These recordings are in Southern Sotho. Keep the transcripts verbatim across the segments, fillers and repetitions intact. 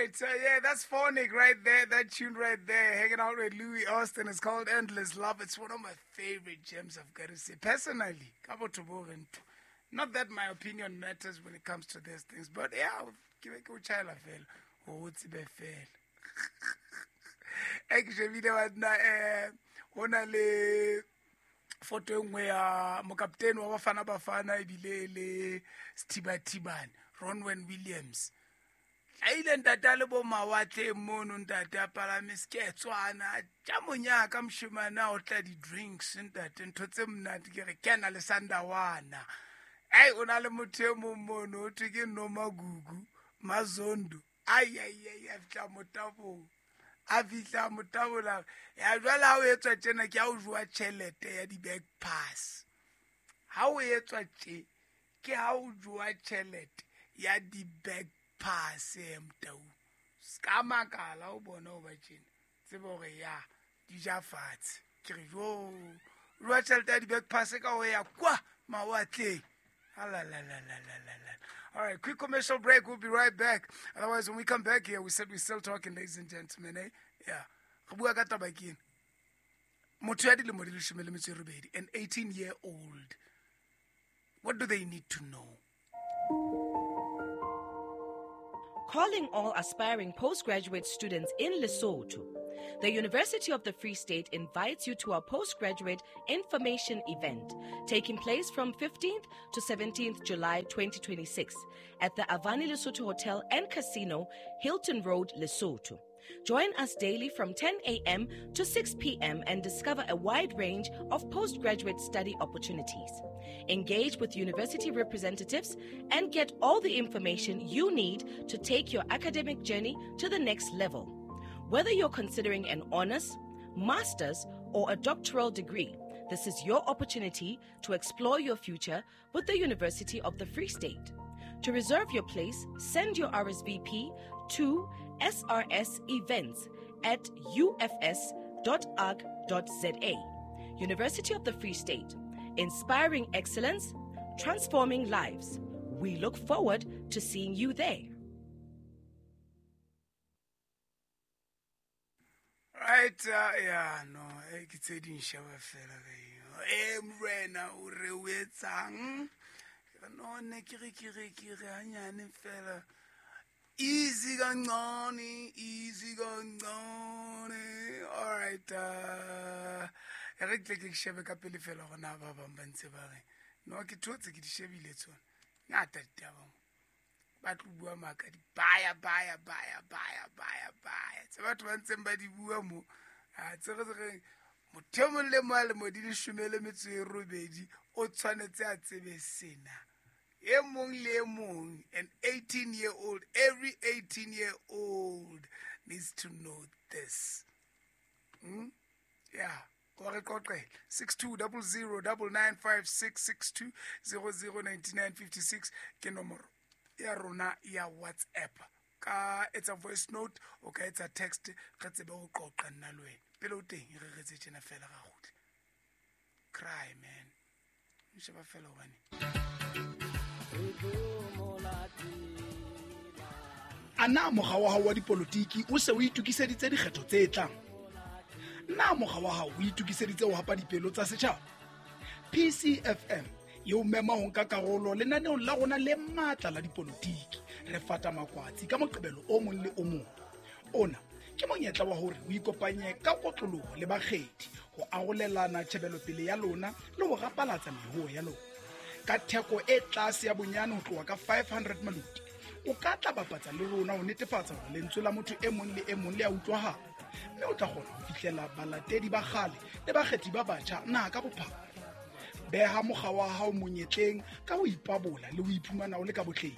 right, so yeah, that's Phonic right there, that tune right there, hanging out with Louis Austin. It's called Endless Love. It's one of my favorite gems, I've got to say. Personally, ka botho bo re ntho. Not that my opinion matters when it comes to these things, but yeah, ke be ke o tjhaela fela, hore o tsebe fela. E ke shebile banna, eh, ho na le foto e nngwe ya mokaptene wa Bafana Bafana ebile e le Sethibathibane, Ronwen Williams. Hlahile ntate a le bo mawatleng mono, ntate a palame seketswana, a ja monyaka moshemane a otla di-drinks, ntate, ntho tse monate, ke re kena le sandawana. Ai, o na le motho e mong mono, ho thwe ke Nomagugu Mazondo. Ai, ai, ai, a fihla motabong. A fihla motabola. Ya jwale ha o etswa tjena ke ha o jowa tjhelete ya di-back pass. Ha o etswa tje, ke ha o jowa tjhelete ya di-back pass, eh, motau. Ska makala o bona o ba tjena. Tsebe hore ya, di ja fatshe. Ke re jo, jowa tjhelete ya di-back pass ka ho ya kwa mawatleng. Ah, la, la, la, la, la, la, la. All right, quick commercial break. We'll be right back. Otherwise, when we come back here, we said we're still talking, ladies and gentlemen. Eh? Yeah. Re bua ka taba ke ena. Motho ya dilemo di leshome le metso e robedi, an eighteen-year-old. What do they need to know? Calling all aspiring postgraduate students in Lesotho. The University of the Free State invites you to our postgraduate information event taking place from fifteenth to seventeenth July twenty twenty-six at the Avani Lesotho Hotel and Casino, Hilton Road, Lesotho. Join us daily from ten A M to six P M and discover a wide range of postgraduate study opportunities. Engage with university representatives and get all the information you need to take your academic journey to the next level. Whether you're considering an honors, master's, or a doctoral degree, this is your opportunity to explore your future with the University of the Free State. To reserve your place, send your R S V P to S R S events at U F S dot org dot Z A. University of the Free State, inspiring excellence, transforming lives. We look forward to seeing you there. Right, uh, yeah, no, eh, ke tse ding sheba fela re. Eh, morena, o re o etsang? No, ne ke re, ke re, ke re hanyane fela. Easy kancane, easy kancane. All right, uh, e re ke tle ke shebe ka pele fela hore na ba bang ba ntse ba reng. No, ke thotse ke di shebile tsona. Ngata ditaba mo. Ba tlo bua maka di baya, baya, baya, baya, baya, baya. Tse batho ba ntseng ba di bua mo. Ah, tse re reng, motho e mong le mong a lemo di leshome le metso e robedi, o tshwanetse a tsebe sena. E mong le e mong, an eighteen-year-old, every eighteen-year-old needs to know this. Hmm? Yeah. Wa re qoqela. six two double zero double nine five six, six two zero zero ninety-nine fifty-six ke nomoro ya rona ya WhatsApp. Ka etsa voice note, o ka etsa text, re tsebe ho qoqa nna le wena. Pele o teng, re re tse tjena fela ra kgutla. Cry, man. Nsheba fela hobane. A na mokga wa hao wa dipolotiki o se o itokiseditse dikgetho tse tlang? Na mokga wa hao o itokiseditse ho hapa dipelo tsa setjhaba? P C F M e o mema ho nka karolo lenaneong la rona le matla la dipolotiki. Re fata makwatsi ka Moqebelo o mong le o mong. Ona ke monyetla wa hore o ikopanye ka kotloloho le bakgethi ho arolelana tjhebelopele ya lona le ho rapalatsa mehoo ya lona. Ka theko e tlase ya bonyane ho tloha ka five hundred maluti, o ka tla bapatsa le rona ho netefatsa hore lentswe la motho e mong le e mong le a utlwahala, mme o tla kgona ho fihlela balatedi ba kgale le bakgethi ba batjha naha ka bophara. Beha mokga wa hao monyetleng ka ho ipabola le ho iphumana o le ka botleng.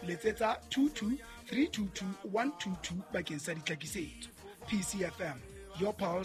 Letsetsa two two three two two one two two bakeng sa ditlhakisetso. P C F M, your pulse.